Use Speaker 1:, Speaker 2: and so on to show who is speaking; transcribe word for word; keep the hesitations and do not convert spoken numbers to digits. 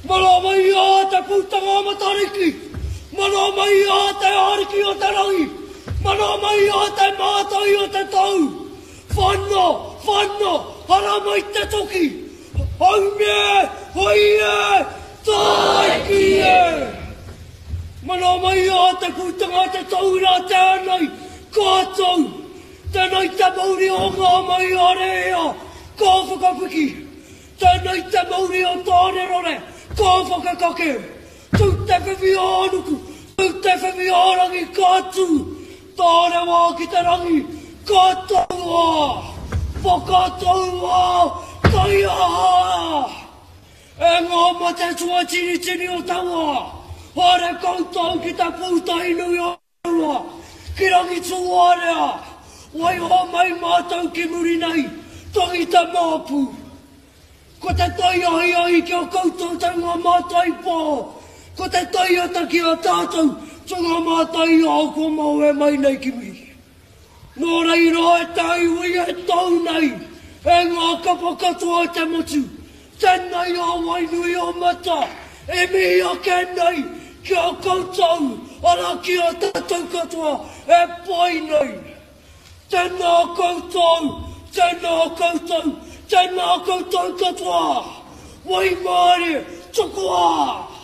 Speaker 1: Mana mai a te pūtanga Matariki! Mana mai a te ariki o te rangi! Mana mai a te mātai o te tau! Whana! Whana! Hara mai te toki! Haumie! Hoi e! Tāiki e! Mana mai a te pūtanga te taura tēnei! Ka tau! Tēnei te mauri o ngā mai a rea! Ka whakapiki! Tēnei te mauri o Tānerore! Ka whakakake! Tū te whiwhi ā nuku! Tū te whiwhi ā rangi! Ka tū! Tārewa ki te rangi! Ka taua! Whakataua! Taiaha! E ngā mate tuatinitini o te wā! Haere koutou ki te pūtahi nui o Rua, ki Rangitūārea! Waiho mai mātou ki muri nei, tangi te māpu! Ko te tai ahiahi ki a koutou te ngā mātai pō, ko te tai ata ki a tātou to ngā mātai ao kua mawe mai nei ki muri. Nō reira e te iwi e tau nei, e ngā kapa katoa o te motu, tēnei a Wainui o Mata e mihi ake nei ki a koutou, arā ki a tātou katoa e pai nei. Tēnā koutou, tēnā koutou, tēnā koutou katoa. Waimārie, tokoa!